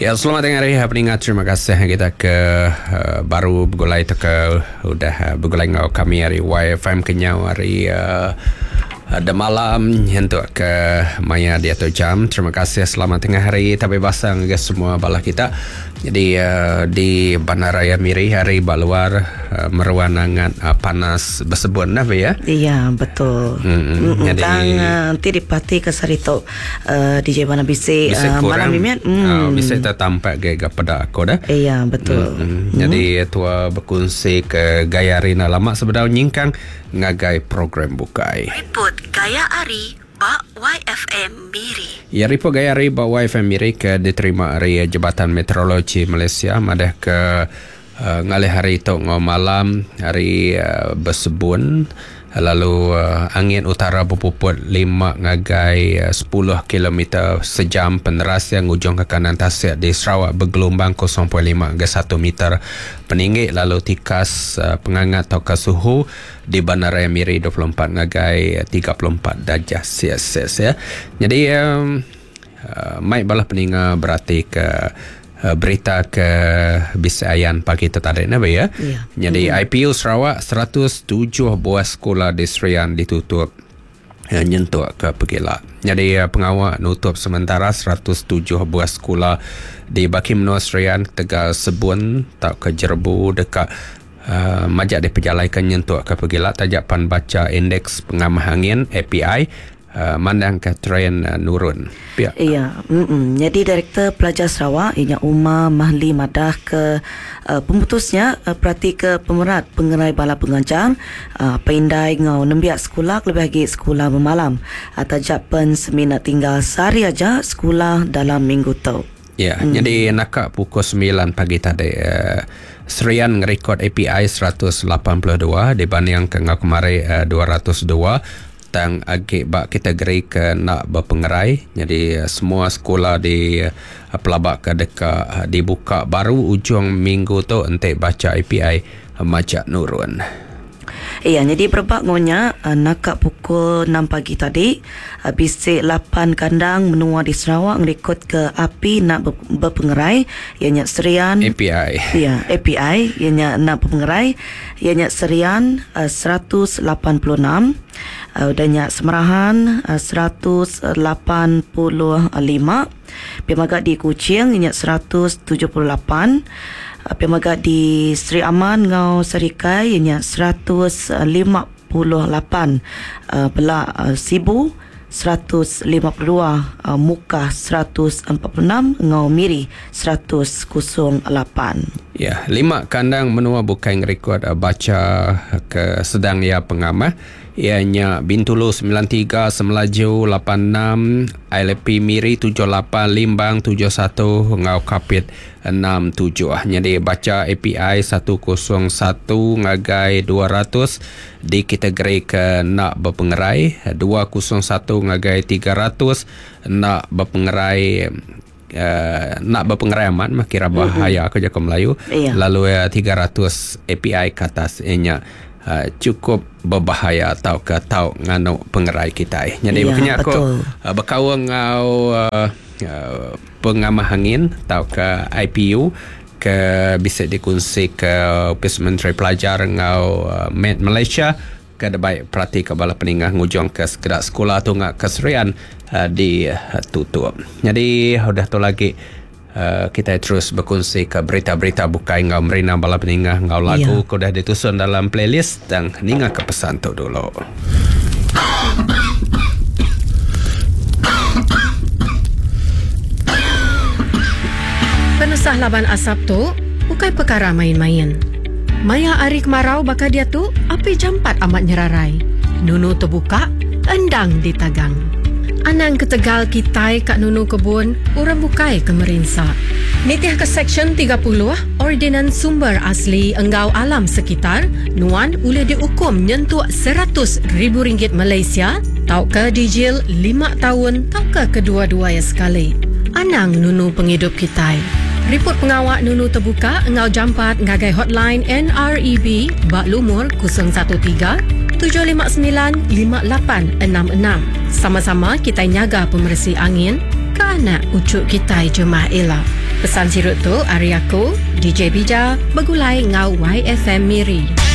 Ya, selamat tengah hari peningat. Terima kasih kita ke uh, baru begulai tu ke udah uh, begulai ngau kami hari YFM kenyau hari uh, ada malam nyentuk ke maya dia tu jam. Terima kasih selamat tengah hari tapi basang ke semua bala kita. Jadi uh, di Bandaraya Miri hari ba luar uh, meruan angat uh, panas bersebun dah ya. Iya betul. Hmm, jadi Tang uh, ti dipati ke sehari tu uh, DJ Mana bisi Bisa uh, kurang malam mimit. Hmm. Uh, bisa tertampak ke pada aku dah. Iya betul. Hmm. Jadi tua berkongsi ke gaya Rina lama sebedau nyingkang ngagai program bukai. Report Gaya Ari ba YFM Miri. Ya report gaya ari ba YFM Miri ke diterima ari Jabatan Meteorologi Malaysia madah ke uh, ngalih hari tu ngau malam hari uh, bersebun lalu uh, angin utara berpuput 5 ngagai uh, 10 km sejam peneras yang ujung ke kanan tasik di Sarawak bergelombang 0.5 hingga 1 meter peninggi lalu tikas uh, pengangat atau ke suhu di Bandaraya Miri 24 ngagai 34 darjah Celsius ya. Jadi um, uh, mai balah peninga berarti ke uh, berita ke Bisayan pagi tu tadi na ya. Ya. Jadi IPU Sarawak 107 buah sekolah di Serian ditutup uh, nyentuk ke Pegila. Jadi uh, pengawal nutup sementara 107 buah sekolah di Baki Menua Serian Tegal Sebun tak ke Jerbu dekat uh, majak diperjalaikan nyentuk ke Pegila tajak pan baca indeks pengamah angin API uh, mandang ke trend uh, nurun. Pihak. Iya, mm-mm. Jadi Direktur Pelajar Sarawak ianya Umar Mahli madah ke uh, pemutusnya uh, perhati ke pemerat pengerai bala pengajar uh, pendai ngau nembiak sekolah lebih lagi sekolah bermalam atau japen semina tinggal sehari aja sekolah dalam minggu tu. Ya, jadi nakak pukul 9 pagi tadi uh, Serian ngerekod API 182 dibanding ke ngau kemari uh, 202 tang agi bak kategori ke nak berpengerai. Jadi uh, semua sekolah di uh, pelabak ke dekat uh, dibuka baru ujung minggu tu entik baca API uh, macak nurun. Iya, jadi berebak ngonya uh, nakak pukul 6 pagi tadi uh, bisik 8 kandang menua di Sarawak ngerekod ke api nak berpengerai ianya Serian API. Ya, API ianya nak berpengerai ianya Serian uh, 186 uh, dan Semerahan uh, 185 Piamaga di Kuching ianya 178 Piamaga di Sri Aman ngau Serikai ianya 158 uh, Belak uh, Sibu 152 uh, Mukah 146 ngau Miri 108. Ya, 5 kandang menua bukan rekod uh, baca ke sedang ya pengamah ianya Bintulu 93, Semelaju 86, ILP Miri 78, Limbang 71, Ngau Kapit 67. Jadi baca API 101 ngagai 200 di kategori ke nak berpengerai, 201 ngagai 300 nak berpengerai uh, nak berpengerai amat mah kira bahaya aku jago Melayu. Iya. Lalu uh, 300 API ke atas ianya uh, cukup berbahaya atau ke tau nganu pengerai kita. Jadi Ya, maknanya aku betul. uh, berkawan ngau uh, uh, pengamah angin atau ke IPU ke bisa dikongsi ke Ofis Menteri Pelajar ngau uh, Med Malaysia ke ada baik perhati ke bala peningah ngujung ke sekedar sekolah tu ngak ke Serian uh, ditutup. Jadi udah tu lagi uh, kita terus berkongsi ke berita-berita bukai ngau merina bala peningah ngau lagu Ya. ke dah ditusun dalam playlist dan ninga ke pesan tu dulu. Penusah laban asap tu bukan perkara main-main. Maya ari kemarau bakal dia tu api jampat amat nyerarai. Nunu terbuka, endang ditagang. Anang ketegal kitai kat nunu kebun, orang bukai ke merinsa. Nitih ke Seksyen 30, Ordinan Sumber Asli Enggau Alam Sekitar, Nuan boleh dihukum nyentuk RM100,000 Malaysia, tau ke dijil 5 tahun, tau ke kedua-dua ya sekali. Anang nunu penghidup kitai. Report pengawak Nunu terbuka engau jampat ngagai hotline NREB bak lumur 013 759 5866. Sama-sama kita nyaga pemersi angin. ke anak uchu kitai jemah ila. Pesan sirut tu ari aku, DJ Bija, begulai enggau YFM Miri.